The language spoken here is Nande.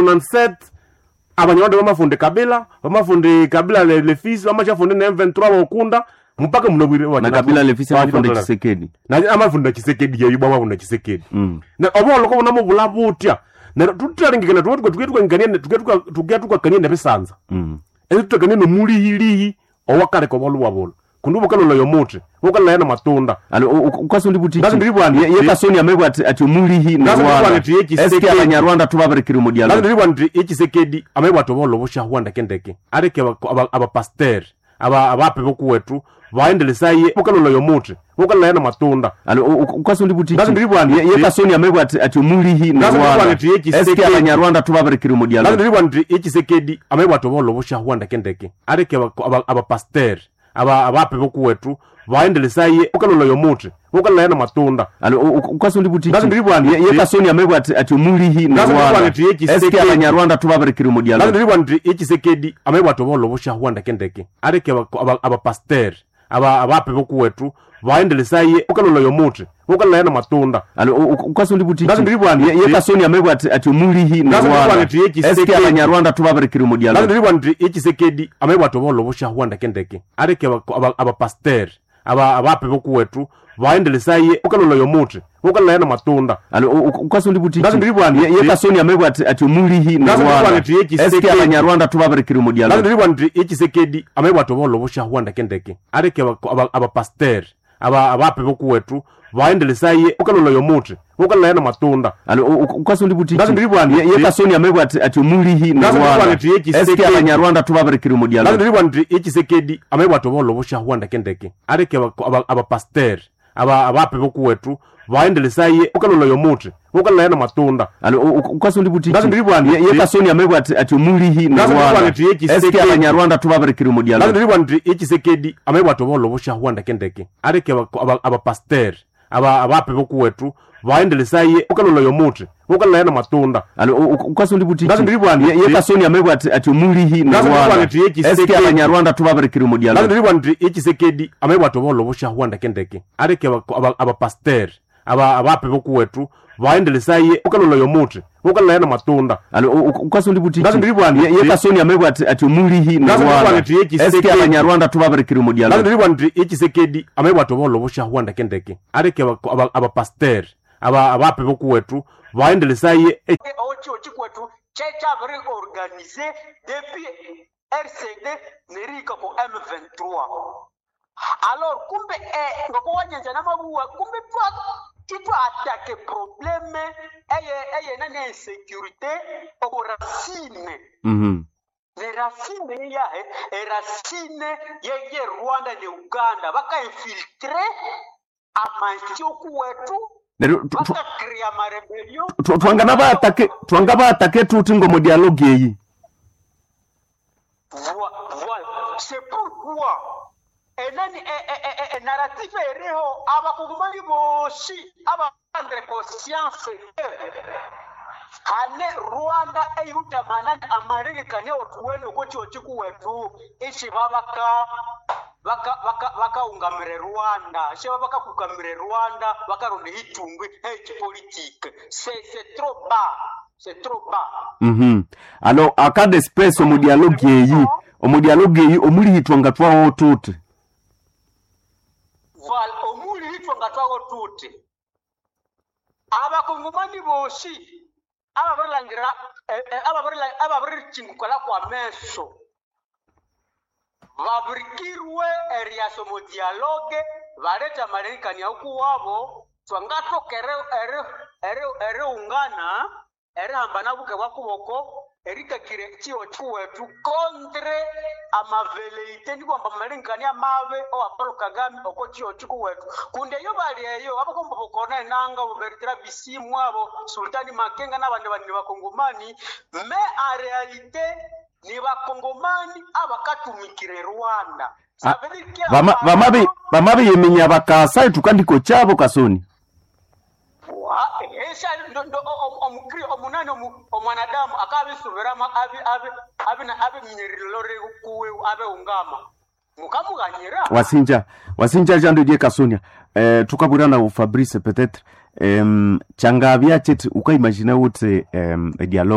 97 Abanyarwanda bamafunde Kabila, bamafunde Kabila le fils, bamashafunde na M23 bokunda mpaka munabwire. Na Kabila le fils amafunde Tshisekedi. Na amafunda Tshisekedi yeyo, bamafunda Tshisekedi. Na oboloko bunamubula butya neryo tuthalengekana tuke tukakania nebisanza. Esi tutakania nomulihilihi owakaleka obwalubwa bulo kundi bukalolaya omuthi, bukalolaya namatunda. Alo ukasundi buti. Ngazi ndiri Ye Kasoni amebwa ati omulihi na Ngazi ndiri Rwanda. ati ye Tshisekedi. Eske Abanyarwanda tubabirekire mu dialogue? Ndiribwa nti echisekedi amabwatha obuholho busyahwa ndekendeke, aleke abapasteri abape bokuwetu baendelesaye bukalolaya omuthi, bukalolaya namatunda. Alo ukasundi buti. Ngazi ndiri Ye Kasoni amebwa ati omulihi na Ngazi ndiri Rwanda. ati ye Eske Tshisekedi. Abanyarwanda tubabirekire mu dialogue? Ndiribwa nti echisekedi amabwatha obuholho busyahwa ndekendeke, aleke abapasteri abape bokuwetu baendelesaye bukalolaya omuthi, bukalolaya namatunda. Alo ukasundi buti. Ngazi ndiri Ye Kasoni amebwa ati omulihi na Ngazi ndiri Rwanda. ati ye Tshisekedi. Eske Abanyarwanda tubabirekire mu dialogue? Ndiribwa nti echisekedi amabwatha obuholho busyahwa ndekendeke, aleke abapasteri abape bokuwetu baendelesaye bukalolaya omuthi, bukalolaya namatunda. Alo ukasundi buti. Ngazi ndiri Ye Kasoni amebwa ati omulihi na Ngazi ndiri Rwanda. ati ye Tshisekedi. Eske Abanyarwanda tubabirekire mu dialogue? Ndiribwa nti echisekedi amabwatha obuholho busyahwa ndekendeke, aleke abapasteri abape bokuwetu baendelesaye bukalolaya omuthi, bukalolaya namatunda. Alo ukasundi buti. Ngazi ndiri Ye Kasoni amebwa ati omulihi na Ngazi ndiri Rwanda. ati ye Tshisekedi. Eske Abanyarwanda tubabirekire mu dialogue? Ndiribwa nti echisekedi amabwatha obuholho busyahwa ndekendeke, aleke abapasteri abape bokuwetu baendelesaye bukalolaya omuthi, bukalolaya namatunda. Alo ukasundi buti. Ngazi ndiri Ye Kasoni amebwa ati omulihi na Ngazi ndiri Rwanda. ati ye Tshisekedi. Eske Abanyarwanda tubabirekire mu dialogue? Ndiribwa nti echisekedi amabwatha obuholho busyahwa ndekendeke, aleke abapasteri abape bokuwetu baendelesaye bukalolaya omuthi, bukalolaya namatunda. Alo ukasundi buti. Ngazi ndiri Ye Kasoni amebwa ati omulihi na Ngazi ndiri Rwanda. ati ye Tshisekedi. Eske Abanyarwanda tubabirekire mu dialogue? Ndiribwa nti echisekedi amabwatha obuholho busyahwa ndekendeke, aleke abapasteri abape bokuwetu baendelesaye bukalolaya omuthi, bukalolaya namatunda. Alo ukasundi buti. Ngazi ndiri Ye Kasoni amebwa ati omulihi na Ngazi ndiri Rwanda. ati ye Tshisekedi. Eske Abanyarwanda tubabirekire mu dialogue? Ndiribwa nti echisekedi amabwatha obuholho busyahwa ndekendeke, aleke abapasteri abape bokuwetu baendelesaye bukalolaya omuthi, bukalolaya namatunda. Alo ukasundi buti. Ngazi ndiri Ye Kasoni amebwa ati omulihi na Ngazi ndiri Rwanda. ati ye Tshisekedi. Eske Abanyarwanda tubabirekire mu dialogue? Ndiribwa nti echisekedi amabwatha obuholho busyahwa ndekendeke, aleke abapasteri abape bokuwetu baendelesaye. Ocho chikwetu checha organisé depuis RCD nerika ko M23. Alors kumbe ngoko wanyenza namabuwa kumbe twa titwa attaque problème eye nani insécurité oko racine. Ne racine yahe e racine ye Rwanda ne Uganda baka infiltre amansi okuwetu. Neryo Baka créer ma rébellion. Twangana baatake, twanga baatake tuti ngomo dialogue eyi. Voilà. C'est pourquoi enani narrative eriho abakongomani bosi abaprendre conscience que hane Rwanda eyutamanani amarekani otuwene okoti ochikuwetu ishi babaka bakaungamire Rwanda sheba bakakukamire Rwanda bakaronda itungwi echipolitique. C'est trop bas, c'est trop bas. Alors en cas d'espèce omu dialogue eyi, omu dialogue eyi omulihitwa nga twawo tuti. Voilà, omuli hitwa nga twawo tuti abakongomani bosi ababirilangira ababirichingukala kwa meso babirikirwe eriaso mu dialogue baleta marekani okuwabo twangatoka eriungana erihambana buke bwa kuboko erikakire chiwo chiwetu contre amaveleite ndikwamba marekani amabe owa Paul Kagame oko chiwo chikuwetu kunde eyo bali eyo abakomba bokona enanga boberitira bisimu abo Sultani Makenga n'abandi bandi bakongomani, mais en réalité ni bakongomani abakatumikire Rwanda. Ça veut dire que Vamabiyeminya bakasa itukandiko chabo Kasoni. Esha ndo omukri omunani omwanadamu akabisubiramo abiminyerero kuwe abe ungama mukamuganyira. Wasinja, wasinja jando die Kasonia. Tukabwira na Fabrice peut-être changavya cheti ukaimagine uti dialogue.